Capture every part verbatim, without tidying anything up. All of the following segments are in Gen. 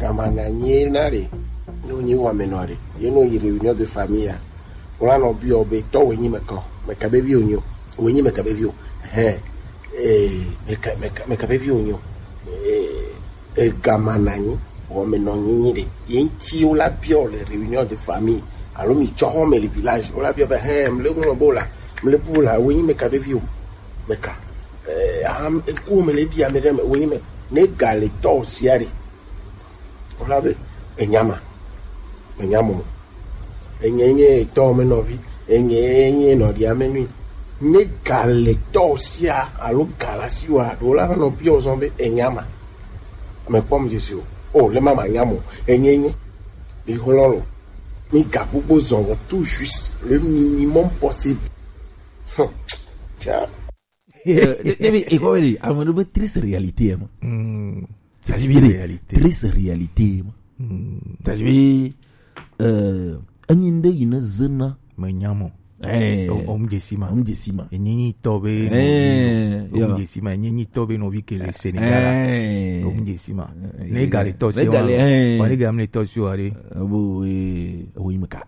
Amana nye na re, no nyi wa me no re. Ye no yi réunion de famille ya. Wala no bi obe to we nyi me ko. Me ka be vi o nyo. We nyi me ka be vi o. He. Eh, me ka, me ka, me ka be vi o nyo. Eh, eh, gamana nyi. Wo me no nyi nyi de. Ye nti wo la bi o le réunion de famille. Alo mi cho ho me le village. Wo la bi o be he, me le mo bo la. Me le bu la, we nyi me ka be vi o. Me ka. Eh, am, e ku me le di ame de me, we nyi me. Ne ga le to si are. Wala be, enyama. Enyamo. Enye nye etɔ me nɔvi. Enye nye nɔɖia me nui. Ne ga le tɔ sia alo ga la si wa ɖo la va nɔ biɔ zɔn be enyama. Me kpɔm Jesu. O, le mama nyamo. Enye nye. Mi hlɔn lo. Mi ga gbogbo zɔn wɔ tout juste le minimum possible. Hum. Tiens. Eh, de- debi iko wele, ame ɖo be triste réalité, hein. Mm. Triste Triste réalité. Réalité. Triste réalité, hein. Mm. C'est-à-dire, euh, anyi nde yi ne zena. Me nyamo. Eh. O, om jesima. Om jesima. Enyi nyi tɔ be. Eh, om jesima. Enyi nyi tɔ be no vi ke le Sénégal. Eh. Om jesima. Eh, ne gale tɔ ne si gale, wa. Eh. Wa ne gale tɔ si wa re. Abo, eh, abo yi me ka.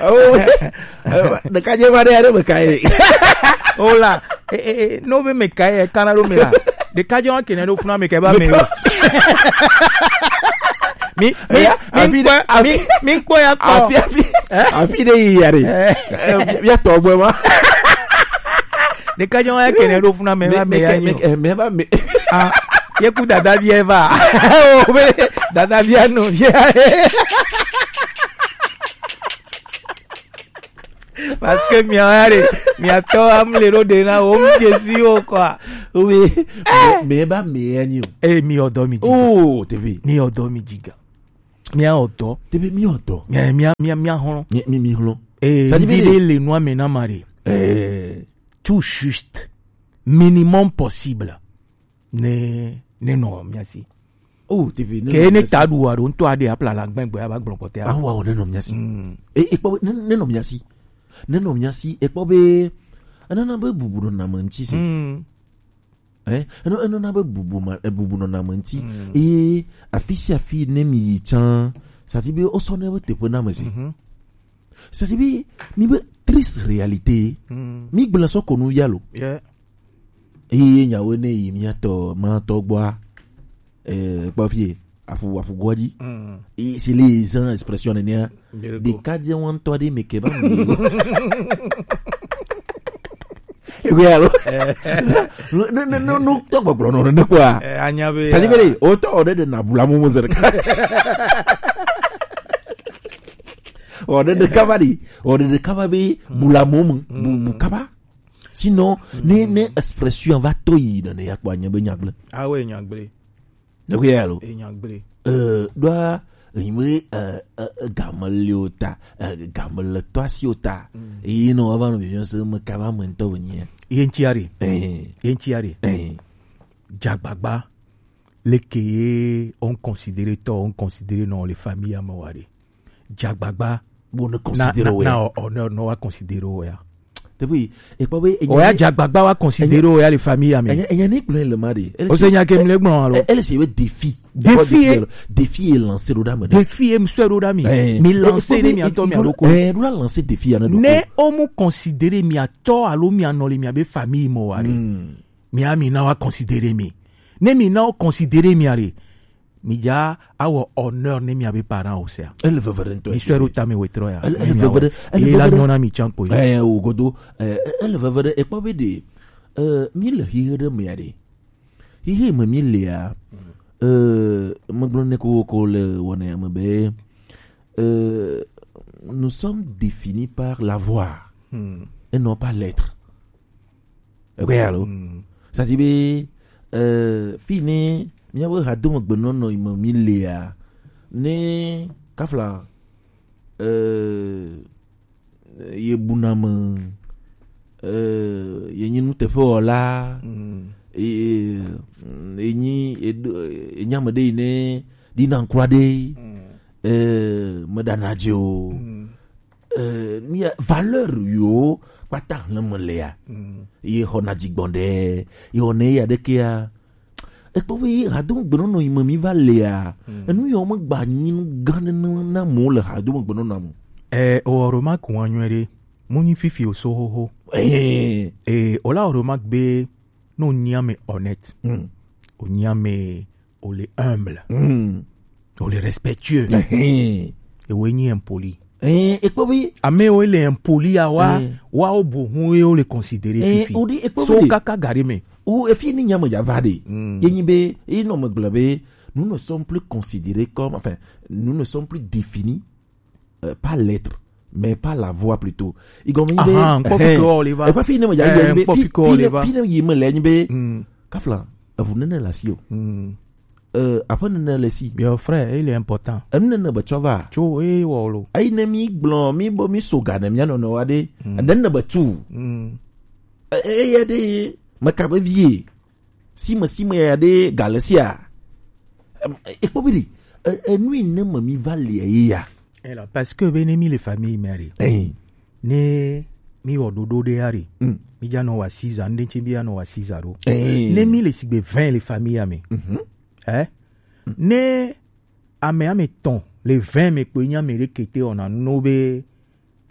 Oh, eh, ɖeka dze va ɖe aɖe me ka ye. O la, eh, eh, eh, no be me ka ye, kana ɖo me la. Ɖeka dze wa kene ɖo kuna me ke ba me. Mi, mi, eh, mi afi kpɔ, mi, afi mi kpɔ ya kpɔ. Afi, afi, eh? Afi ɖe yi ya ɖe. Eh. Eh, ya tɔ gbɔ ma. Ɖeka dze wa kene ɖo kuna me ba me ya nyo. Me, eh, me ba me. Ah, ye ku dada vie va. O be dada vie no vie. Parce que mi are, mi atɔ am le ɖo de na o mi desi o quoi. Oui, mais, mais ba me ya nyo. Eh, mi odo mi jiga. Oh, T V. Mi odo mi jiga. Mi a odo. T V mi odo. Eh, mi a, mi a, mi a hlɔn. Mi, mi, mi hlɔn. Eh, ça dit, vi le nua me na mare. Eh. Tout juste. Minimum possible. Ne, ne nɔ mia si. Oh, T V, ne ke nɔ ne mia si. Ta ɖu wa ɖo ŋutɔ aɖe apla la gbɛngbɛ aba gblɔ kpɔtɛ. Awa o, ne nɔ mia si. Mm. E, e kpɔ ne, ne nɔ mia si. Ne nɔ mia si, e kpɔ be, enana be bubu nɔ na me ŋuti si. Mm. Eh, eno, eno na be bubu ma, e bubu nɔ na me ŋuti. Mm. E afi sia afi ne mi yi tsã, ça dit be o sɔ ne be teƒe na me si. Mhm. Ça dit be mi be triste réalité. Mm. Mi gblẽ sɔ ko nu ya lo. Yeah. Eye nyawo ne yi miatɔ matɔ gbɔa, eh, kpɔ fie, afu, afu gɔdzi. Mm. Et c'est les gens expression nenia. Miracle. Ɖeka dze wɔn tɔ ɖe me ke ba mi. Ewe alo. Eh. No, no, no, no, no, tɔ gbɔgblɔ nɔ ne kwa. Eh, anya be. Ça dit be, o tɔ o de de na bula mo mo zere. O de de kaba di, o de de kaba be, mm, bula mo mo, bu, bu kaba. Sinon, mm, ne, ne expression va to yi ɖe ne ya kpɔ anye be nyagblẽ. Awe nyagblẽ. Ne ko ya lo. E nyagblẽ. Euh, doa, enyi be, euh, euh, euh, game le o ta, euh, game le to asi o ta. Mm. Eyi no ava no vision se me kaba me ŋutɔ be nye. Ye ŋuti are. Eh. Ye ŋuti are. Eh. Dzagbagba. Leke ye on considérer tɔ, on considérer non le famille ya me wa re. Dzagbagba. Bo ne na, considérer na, o ya. Na o, o, no, no wa considérer o ya. Depuis, e kpɔ be, o ya dzagbagba wa considérer o ya le famille ya me. Enya, enya ne gblẽ le ma de. O se nya ke mi le gblɔ alo. Elle, c'est le défi. Défi, défi est lancé ɖo ɖa me. Défi est monsieur ɖo ɖa mi. Eh, mi lancer ne mi atɔ mi alo ko. Eh, ɖo la lancer défi ya ne ɖo. Ne o mu considérer mi atɔ alo mi anɔ le mi abe famille mo wa re. Hmm. Mi a mi na wa considérer mi. Ne mi na o considérer mi are. Mi dza awɔ honneur ne miabe parent o sea. Ele veve ɖe ŋutɔ. Mi sɔe ɖo tame wetrɔ ya. Ele, ele veve ɖe, ele veve ɖe. Ye la nyɔ na mi tsã kpo. Eh, o godo. Eh, ele veve ɖe, ekpɔ be ɖe, eh, mi le xixe ɖe mea ɖe. Xixe me mi lea, eh, megblɔ ne ko, ko le wɔna ya me be, eh, nous sommes définis par la voix, hmm, et non pas l'être. Ekpɔe ya lo. Mm. Ça dit be, euh, fini, miabe hadomegbenɔnɔ yi me mi lea, ne kafla, euh, ye buna me, euh, ye nyi nuteƒewɔla, mm, ye, ye nyi, ye do, ye nyi ame ɖe yi ne ɖina ŋkua ɖe, mm, euh, meɖana dze o. Mm. eh, mi ya valeur yo kpata hlɛnmɛ le ya. Ye xɔ na dzigbɔn ɖe, ye xɔ ne ya ɖe ke ya. Ekpɔ be hadomo gbenɔnɔ yi me mi va le ya. Enu ya me gba nyi nu gã ɖe na mo le hadomo gbenɔnɔ mo. Eh, o oro ma ku wa nyuɛ ɖe. Mu nyi fifi o so xoxo. Eh, o la oro ma gbe no nyi ame honnête. O nyi ame o le humble. O le respectueux. Ewe nyi impoli. Eh, ekpɔ be ame wo le impoli ya wa, wa o bo hun ye o le considérer fifi. O di ekpɔ so be kaka gari me. O efi ni nyame ya va de. Ye nyi be e no me gblɔ be nous ne sommes plus considérés comme, enfin, nous ne sommes plus définis, euh, par l'être, mais par la voix plutôt. Igɔme nyi be, ahan, nkpɔ fi ke o le va. Ekpɔ fi ne me ya, eh, nyi be nkpɔ fi ke o le va. Fi ne yi me le nyi be, kafla evu nene la si o. Euh, aƒe nene le si. Your friend, il est important. Enu nene be tsɔ va. Tso e wɔ lo. Eyi ne mi gblɔ mi bo mi so ga ne mia nɔnɔ wa de. Ene ne be tu. E, e, ya de me ka be vie. Sime sime ya de gale sia. Ekpɔ bi di. Enu yi ne me mi va le ye ya. Ela, parce que be ne mi le famille mère. Ne mi wɔ ɖoɖo ɖe ya ɖe. Mi dza nɔ wa six ans, ŋɖe ŋti mi ya nɔ wa six ans ɖo. Ne mi le sigbe vingt le famille ya me. Eh? Ne ame ame tɔn le vingt me kpoe nye ame ɖe kete wɔna nuwo be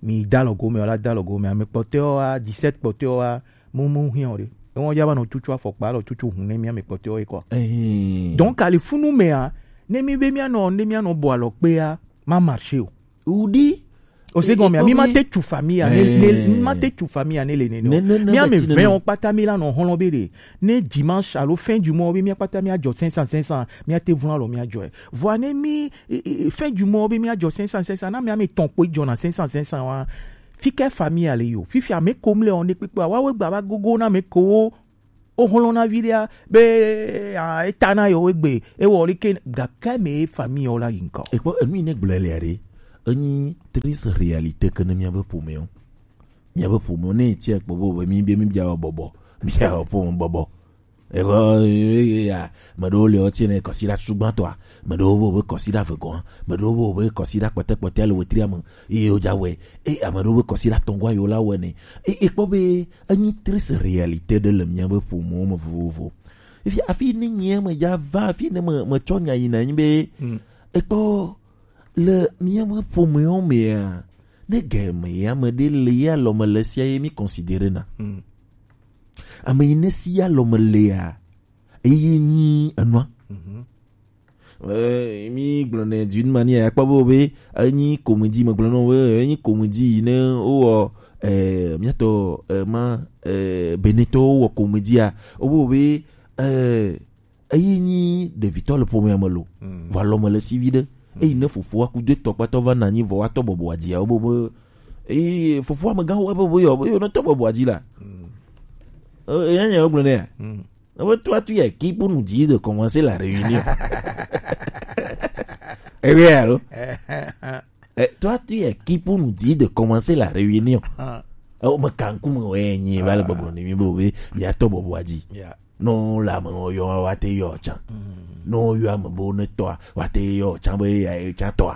mi da lɔ gome, wala da lɔ gome, ame kpɔtɔewo wa, dix-sept kpɔtɔewo wa, mu, mu hiã o ɖe. Ewo ya va nɔ tutu afɔkpa, alɔ tutu hun ne mi ame kpɔtɔewo ye kɔ. Donc, ali funu mea, ne mi be mi anɔ, ne mi anɔ bɔ alɔ kpea, ma marché o. Udi. O se gɔmea, mi ma te tu famille ne, ne, mi ma te tu famille ne le nene o. Mi ame vingt o kpata mi la nɔ hlɔn be ɖe. Ne dimanche alo fin du mois be mi kpata mi adzɔ cinq cents, cinq cents, mi ate vun alɔ mi adzɔe. Vɔa ne mi, e, e, fin du mois be mi adzɔ cinq cents, cinq cents, na mi ame tɔn kpoe dzɔna cinq cents, cinq cents wa. Fi ke famille ale yo. Fifi ame ko mle o ne kpekpe wa we gba va gogo na me ko. O hlɔn na vi ɖea be, ah, eta na yo egbe, e wɔ li ke, gake me famille o la yi ŋkɔ. Ekpɔ enu yi ne gblɔ le ɖe. Enyi triste réalité ke ne mia be ƒomewo. Mia be ƒomewo ne tia kpɔ bo be mi be mi bia bɔbɔ. Mia ƒome bɔbɔ. Ego ya, me ɖewo le wo tie ne kɔsiɖa tutugbãtɔa, me ɖewo be wobe kɔsiɖa vegɔa, me ɖewo be wobe kɔsiɖa kpɔtɛkpɔtɛa le wetria me, eye wodza wɔe, eye ame ɖewo be kɔsiɖa tɔngɔa yewo la wɔe nɛ. E, ekpɔ be enyi triste réalité ɖe le míabe ƒomewo me vovovo. Efi, afi ne nyea me dza va, afi ne me, metsɔ nya yina nyi be, ekpɔ le míabe ƒomewo mea, ne ge me ya me ɖe le ya lɔ me le sia ye mi considérer na. Ame yi ne si ya lɔ me lea, eye nyi enua. Eh, mi gblɔ nɛ d'une manière akpɔ be be enyi comédie, me gblɔ nɔ be enyi comédie yi ne wowɔ, eh, miatɔ, eh, ma, eh, Benetɔ wowɔ comédie a, wo be, eh, eyi nyi ɖevitɔ le ƒomea me lo. Vɔ alɔ me le si vi ɖe. Eyi ne fofoa ku do etɔ kpatɔ va na anyi vɔ wa tɔ bɔbɔ adzia wo be be, eyi fofoa me gã wo be be yɔ be yɔ ne tɔ bɔbɔ adzi la. Eh, eya nya wo gblɔ nɛ ya. Ebe toi tu ya qui pour nous dire de commencer la réunion. Eh oui, allô? Eh, toi tu es qui pour nous dire de commencer la réunion? Eh, o me kanku me we nyi va le bɔbɔ ni mi bo be mi ato bɔbɔ adzi. No la me o yo wa te yo chan. No yo ame bo ne to wa te yo chan be ya chan to.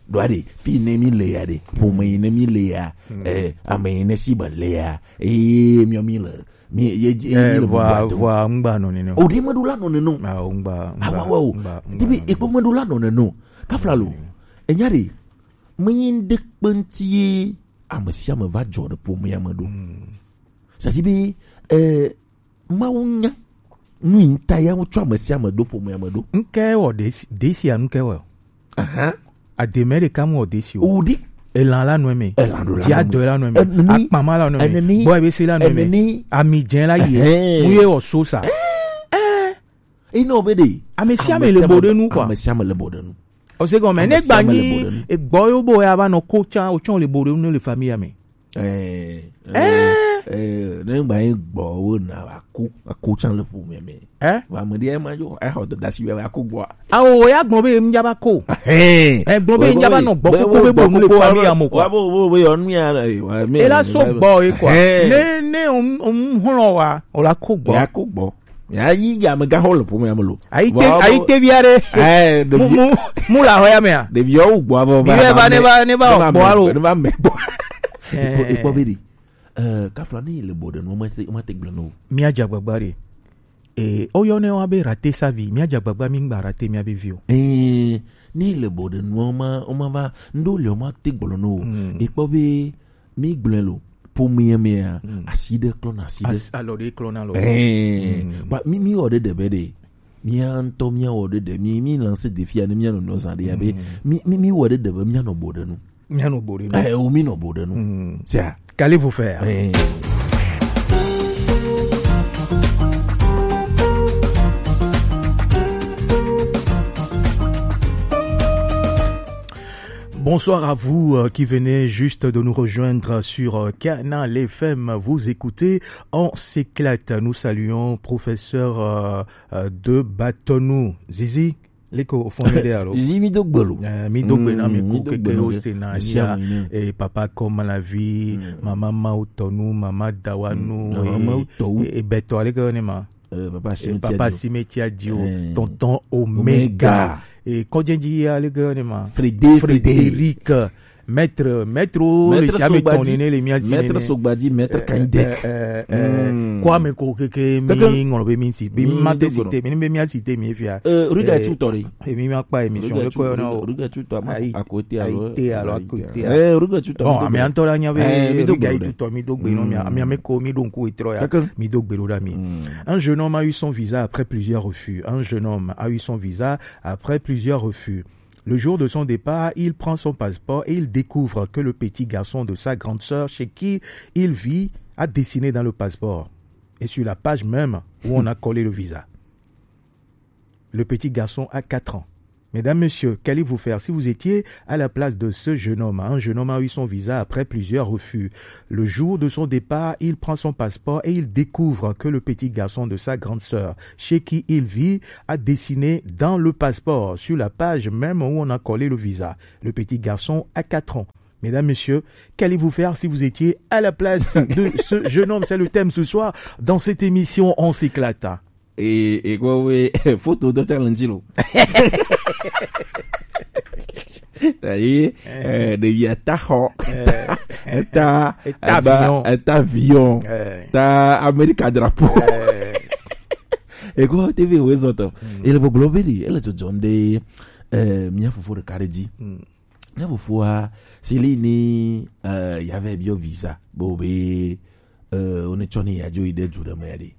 Do ade fi ne mi le ya de. Pour me ne mi le ya. Eh, ame ne si ba le ya. Eh, mi mi le. Mi ye ye mi le vɔa vɔa ŋgba nɔ nene o. O de me do la nɔ nene o. Ah, ŋgba. Ah, wa wa o. Dibi ekpo me do la nɔ nene o. Kafla lo. Enya de. Me yin de kpenti ye ame sia ame va dzɔ ɖe ƒomea me ɖo. Sadi be, eh, Mawu nya nu yi ta ya ŋutsɔ ame sia ame ɖo ƒomea me ɖo. Ŋke wɔ desi, desi anu ke wɔ. Aha. Ademe ɖeka mu wɔ desi o. O ɖi. Elan la nɔ eme. Elan ɖo la nɔ eme. Diadɔ la nɔ eme. Eneni. Akpama la nɔ eme. Eneni. Bɔ ebese la nɔ eme. Eneni. Ami dze la yi. Ehɛn. Mu ye wɔ so sa. Eh. Ina obe de. Ame sia ame le bo ɖe nu, quoi. Ame sia ame le bo ɖe nu. O se gɔme, ne gba nyi egbɔ yo bo ya va nɔ ko tsan, o tsɔn le bo ɖe nu le famille me. Eh, eh, eh, ne gba nyi gbɔ wo na va ko, va ko tsan le ƒome me. Eh? Va me ɖe ma yo, eh, xɔ dasi va ko gbɔ. Awo, o ya gbɔ be ŋdza va ko. Eh. Eh, gbɔ be ŋdza va nɔ gbɔ koko be bo nu le famille ame, quoi. Wa bo, bo, bo yɔ nu ya, eh, wa, me, e la so gbɔ ye, quoi. Eh. Ne, ne o, o hlɔ wa, o la ko gbɔ. Ya ko gbɔ. Ya yi ya me ga hol po me amelo. Ayi te, ayi te via de. Eh, de mu, mu, mu la hoya me a. De via u gbo abo. Bi ba ne ba, ne ba gbo alo. Ne ba me gbo. Ipo, ipo biri. Eh, kafla ni le bo de no ma te, ma te gble no. Mi a ja gbagba re. Eh, oyo ne wa be rate sa vi. Mi a ja gbagba mi ngba rate mi a be vi o. Eh, ni le bo de no ma, o ma va, ndo le o ma te gble no. Ipo be, mi gblɔe lo, ƒomea mea, asi ɖe klɔna asi ɖe. As-, alɔ ɖe klɔna alɔ. Ɛɛ, ba, mi, mi wɔ ɖe ɖe be ɖe, mía ŋutɔ mía wɔ ɖe ɖe, mi, mi lance défi ya ne mía nɔnɔ zã ɖe ya be, mi, mi, mi wɔ ɖe ɖe be mía nɔ bo ɖe nu. Mía nɔ bo ɖe nu. Ɛɛ, o mi nɔ bo ɖe nu. C'est ça. Qu'allez-vous faire? Ɛɛ. Bonsoir à vous, euh, qui venez juste de nous rejoindre sur, euh, Canal F M. Vous écoutez On s'éclate. Nous saluons professeur, euh, euh, de Batonou. Zizi, leko au fond de alors. Zizi mi do gbolo. Euh, mi do gbe na mi ko keke o se na ya. Et papa comme la vie, maman Mautonu, maman Dawanu, et, et Beto, allez que on est ma. Euh, papa Cimetière Dio. Tonton Omega. Et Kodjenji, allez que on est ma. Frédéric. Maître, maître, le Sogba di, maître Sogbadi, maître Kandek. Kwame ko keke mi ngolo be mi si, bi ma te cité, mi be mi a cité mi fia. Euh, regarde tout tore. Et mi ma pas émission. Regarde tout tore. À côté alors. À côté. Eh, regarde tout tore. Bon, mais en tout cas, il y avait regarde tout tore, mi do gbe no mi, mi me ko mi donc et trois. Mi do gbe lo da mi. Un jeune homme a eu son visa après plusieurs refus. Un jeune homme a eu son visa après plusieurs refus. Le jour de son départ, il prend son passeport et il découvre que le petit garçon de sa grande sœur, chez qui il vit, a dessiné dans le passeport et sur la page même où on a collé le visa. Le petit garçon a quatre ans. Mesdames, Messieurs, qu'allez-vous faire si vous étiez à la place de ce jeune homme? Un jeune homme a eu son visa après plusieurs refus. Le jour de son départ, il prend son passeport et il découvre que le petit garçon de sa grande sœur, chez qui il vit, a dessiné dans le passeport, sur la page même où on a collé le visa. Le petit garçon a quatre ans. Mesdames, Messieurs, qu'allez-vous faire si vous étiez à la place de ce jeune homme? C'est le thème ce soir dans cette émission On s'éclate. Et, et quoi, oui, photo de talent, lo. Ayi, eh, ɖevi eta xɔ, eta, eta avion, eta Amerika drapeau. Ego T V wo zɔtɔ. Ele gbɔgblɔ be ɖi, ele dzɔdzɔm ɖe, eh, mía fofo ɖeka ɖe dzi. Mía fofoa, si li ni, eh, ya vɛ biɔ visa, bo be, eh, wo ne tsɔ ni ya dzo yi ɖe du ɖe me ya ɖe.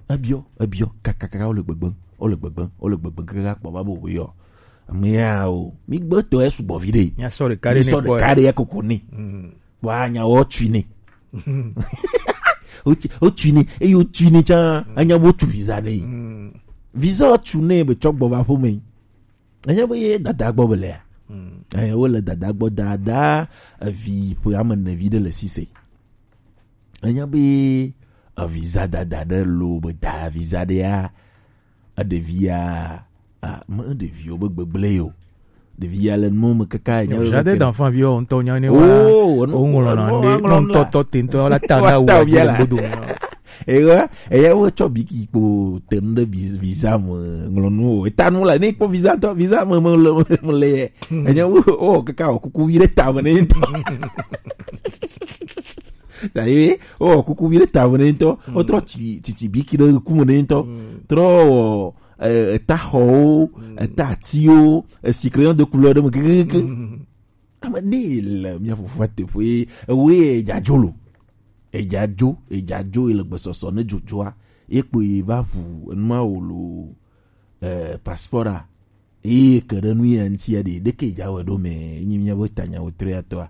Ebiɔ, ebiɔ, kakaka, wo le gbegbe, wo le gbegbe, wo le gbegbe, kaka kpɔ va bo yɔ. Ame ya o, mi gbe tɔ esu gbɔ vi ɖe. Mi sɔ ɖeka ɖe ne kpɔ. Mi sɔ ɖeka ɖe ya koko ne. Wa nya wo tui ne. Wo tui, wo tui ne, eye wo tui ne tsa, anya wo tu visa ne. Visa wo tu ne be tsɔ gbɔ va ƒo me. Anya be ye dada gbɔ be lea. Eh, wo le dada gbɔ, dada, evi ƒe ame ene vi ɖe le sise. Anya be, eh, visa dada ɖe lo be da visa ɖea, eɖevia, ah, me ɖeviwo be gbegblẽ yo. Ɖevia le nu me kaka nya be jardin d'enfant viwo ŋutɔ nya ne wa. Oh, o ŋlɔ na ɖe no ŋutɔ tɔ te ŋutɔ la ta na wo le bodo. Eya, eya wo tsɔ biki kpo te nu ɖe vis-, visa me ŋlɔ nu o. Eta nu la, ne kpɔ visa tɔ, visa me, me le, me le ye. Enya wo, o kaka o kuku vi ɖe ta me ne ŋutɔ. Daye, o kuku vi ɖe ta me ne ŋutɔ. O trɔ tsi, tsi, tsi biki ɖe ku me ne ŋutɔ. Trɔ, eh, eta xɔwo, eta atiwo, esi crayon de couleur ɖe me kekeke. Ame ne le mía fofoa teƒe, ewoe edza dzo lo. Edza dzo, edza dzo, ele gbesɔsɔ ne dzodzoa, ye kpo ye va ʋu enua wo lo, eh, passport a. Ye ke ɖe nu ya ŋuti ya ɖe, ɖeke dza wɔe ɖo me, enyi mía be tanya wo tre atɔa.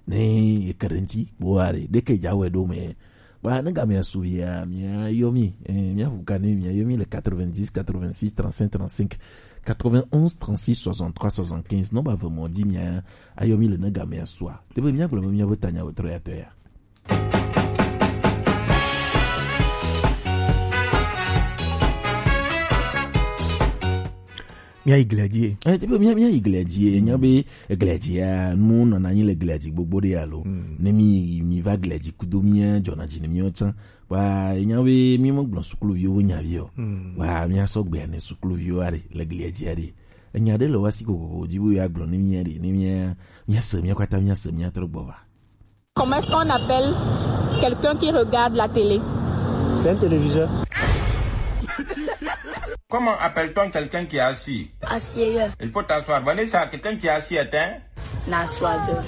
Ne ye ke ɖe ŋuti, bo wa ɖe, ɖeke dza wɔe ɖo me. Ba, ne gamea su ya, mia yɔ mi, eh, mia ʋu ka ne mia yɔ mi le quatre-vingt-dix, quatre-vingt-six, trente-cinq, trente-cinq, quatre-vingt-onze, trente-six, soixante-trois, soixante-quinze. Non, ba, vraiment, di mia, ayɔ mi le ne gamea sua. Te be mia gblɔ be mia be tanya wo tre atɔ ya. Mía yi glia dzi. Eh, ti be mía, mía yi glia dzi. Enya be eglia dzi ya, nu nɔna anyi le glia dzi gbogbo ɖe alo. Ne mi, mi va glia dzi kudo mía dzɔna dzi ne mía tsã. Wa enya be mi me gblɔ sukuluviwo nya vi o. Wa mía sɔ gbea ne sukuluviwo aɖe le glia dzi aɖe. Enya ɖe le wa si kokoko dzi be ya gblɔ ne mía ɖe, ne mía, mía se, mía kata mía se, mía trɔ gbɔ va. Comment est-ce qu'on appelle quelqu'un qui regarde la télé ? C'est un téléviseur. Comment appelle-t-on quelqu'un qui est assis ? Asseyeur. Il faut t'asseoir. Vanessa, quelqu'un qui est assis est un ? N'assoideur.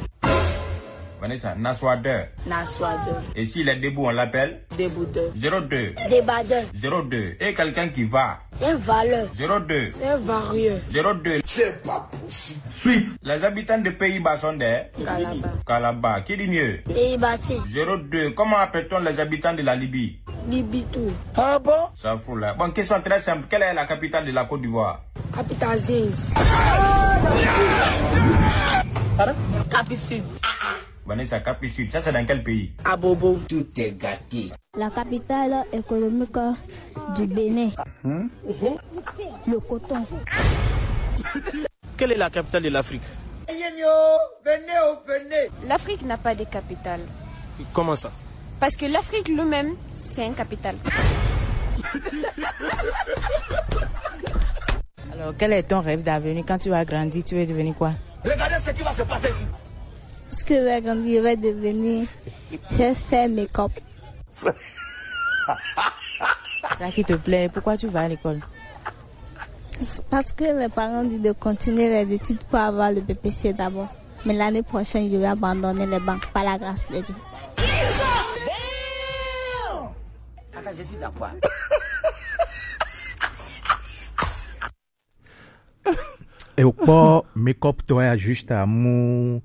Vanessa, n'assoideur. N'assoideur. Et s'il est debout, on l'appelle ? Déboudeur. Zéro deux. Débardeur. Zéro deux. Et quelqu'un qui va ? C'est un valeur. Zéro deux. C'est un varieur. Zéro deux. C'est pas possible. Suite. Les habitants de Pays-Bas sont des ? Calabar. Calabar. Qui dit mieux ? Pays-Bas. Zéro deux. Comment appelle-t-on les habitants de la Libye ? Libye tout. Ah bon ? Ça fout là. Bon, question très simple. Quelle est la capitale de la Côte d'Ivoire ? Capitale Zinz. Pardon ? Cap Sud. Vanessa, Cap Sud. Ça, c'est dans quel pays ? Abobo. Tout est gâté. La capitale économique du Bénin. Le coton. Quelle est la capitale de l'Afrique ? L'Afrique n'a pas de capitale. Comment ça ? Parce que l'Afrique lui-même, c'est une capitale. Alors, quel est ton rêve d'avenir ? Quand tu vas grandir, tu veux devenir quoi ? Regardez ce qui va se passer ici. Ce que je vais grandir, je vais devenir, je vais faire make-up. Ça qui te plaît, pourquoi tu vas à l'école ? C'est parce que mes parents disent de continuer les études pour avoir le B P C d'abord. Mais l'année prochaine, je vais abandonner les banques par la grâce de Dieu. Attends, je suis d'accord. E o kpɔ make-up tɔ ya juste amu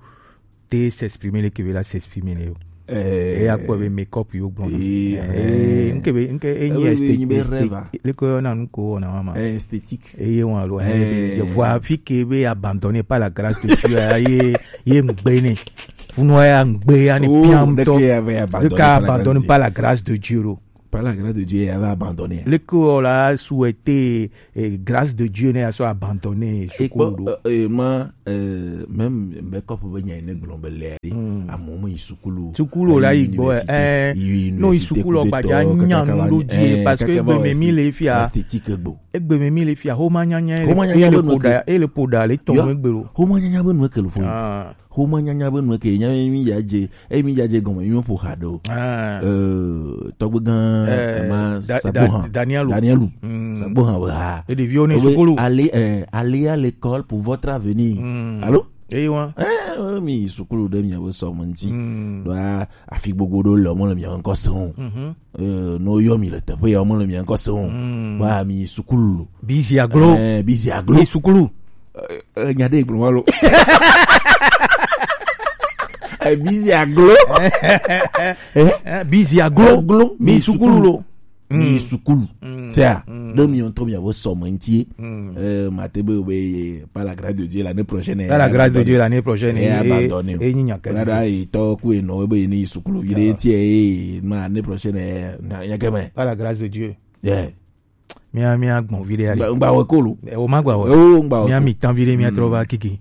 te s'exprimer le kebe la s'exprimer le yo. Eh, e ya kpɔ be make-up yo gblɔ. Eh, eh, eh, nke be, nke e nyi eh, esthétique, esthétique. Le ko na nu ko na mama. Eh, esthétique. E ye wan lo. Eh, je vois fi ke be abandonné par la grâce de Dieu. Ye, ye ngbe ne. Funo ya ngbe ya ne piam to. Le ka abandonné par la grâce de Dieu lo. Par la grâce de Dieu, il avait abandonné. Le ko la souhaité eh, grâce de Dieu ne ya sɔ abandonné sukulu do. Eh, ma eh, même make-up be nya ne gblɔ be le ari. Amo mo yi sukulu. Sukulu la yi gbɔ eh no yi sukulu gbaja nya nu do die parce que egbe me mi le fia. Esthétique gbo. Egbe me mi le fia. Homa nyanya ele poda ele poda le tɔn egbe lo. Homa nyanya be nu ekele fo. Homa nyanya be nu ke nya mi ya je e mi ya je gɔme mi ƒo xa ɖo. Eh, tɔgbe gã eh, ma da- Sabohan da- Danielu. Danielu. Sabohan be ha. E ɖeviwo ne sukulu. Ale eh, allez à l'école pour votre avenir. Allô? Eye wa. Eh, mi sukulu ɖe miabe sɔme ŋuti. Ɖoa afi gbogbo ɖo le mɔ le miabe ŋkɔ se o. Eh, no yɔ mi le teƒe ya mɔ le mia ŋkɔ se o. Ba mi sukulu. Bizi aglo. Eh, bizi aglo. Mi sukulu. Eh, nya ɖe gblɔ ma lo. Eh, bizi aglo. Eh, bizi aglo. Aglo. Mi sukulu lo. Mi sukulu. Tia. Ɖe mi ŋutɔ miabe sɔme ŋuti. Eh, mate be be par la grâce de Dieu l'année prochaine. Par la grâce de Dieu l'année prochaine. Eh, abandonné. E nyi nya ke. Rara yi tɔ ku enɔ be ni sukulu vi ɖe ŋuti e ma année prochaine. Nya ke me. Par la grâce de Dieu. Yeah. Mía mía gbɔn vi ɖe ari. Ngba wɔ kolo. O ma gba wɔ. O ngba wɔ. Mía mi tan vi ɖe mía trɔ va kiki.